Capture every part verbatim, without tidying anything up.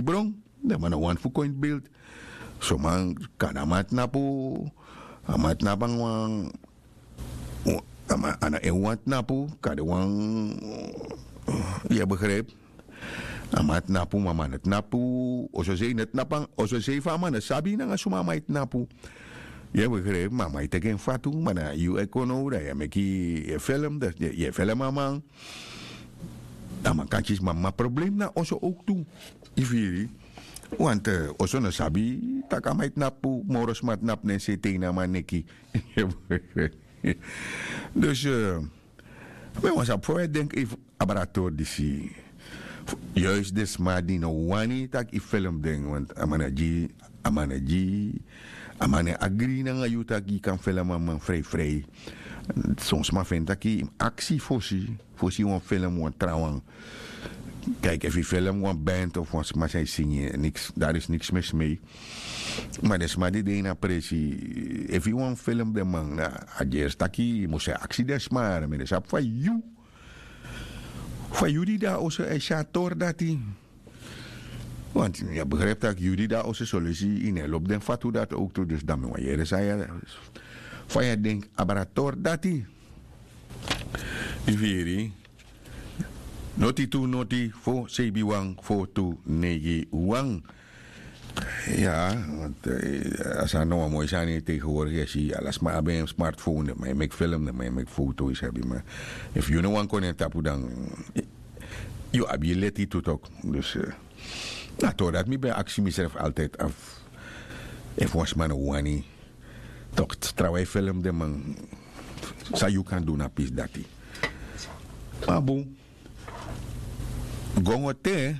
Bron, den man no wani fu kon ini bildi. Son man kande a man tnapu. A man tnapu nanga wan, a man a no en wan tnapu kande wan. Yu e begripi? A man tnapu ma a man no tnapu. Ososei no tnapu. Ososei fu a man no sabi nanga suma a man e tnapu. Yu e begripi? Ma a man e teki en fatu ma na yu e kon now dan yu e meki, yu e felem dan yu e felem a man. A man kan kisi ma mama problem na oso owktu. Yu firi? Want oso no sabi tak' a man e tnapu moro sma tnapu na en sete ini a man neki. Dus mi wani sabi fa wi e denki efu abra a tori disi. Yuis den sma di no wani tak' yu felem den want a man na gi a man na gi a man no e agri nanga yu tak' yu kan felem a man frei frei. Son sma feni tak' yu mus aksi fosi fosi yu wani felem wan trawan. Kaiki efu yu felem wan band of wan sma san e singi niks dari is niks mesmei. Ma den sma di de ini a presi efu yu wani felem den man na a gersi taki yu mus e aksi den sma yara mi no sabi fa yu fa yu di de na oso e si a tori dati. Want yu e begripi tak' yu di de na oso solesi yu no e lobi den fatu dati owktu dus dan mi wani yere san yu e fa yu e denki abra a tori dati. Yu firi? Noti tu noti fo seibi wan fo tu neigi wan. Ya. A sani na wan moi sani tegenworki e si ala sma abi en smartphone den man e meki film den man e meki foto yu sabi ma efu yu no wani kon na en tapu dan yu abi yu leti tu tok. Dus na tori dati mi ben aksi misrefi altid afu efu wan sma no wani tok trawan e film den man san yu kan du na pisi dati. Ma bun. Gongo te.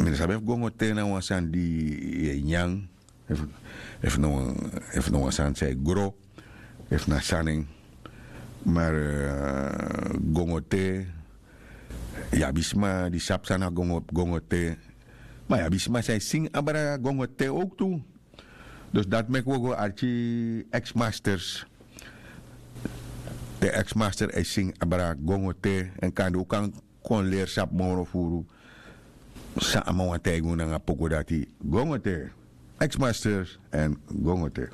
Mi no sabi efu gongo te na wan sani di yu e nyan efu no wan sani san e gro efu na sani en. Mar gongo te yu abi sma di sabi san na gongo te. Ma yu abi sma san e singi abra gongo te owktu. Dus dati meki wi o go arki ex masters. Den ex master e singi abra gongo te èn kande un kan kon leri sabi moro furu san a man wani taigi un nanga poku dati. Gongo te ex masters èn gongo te.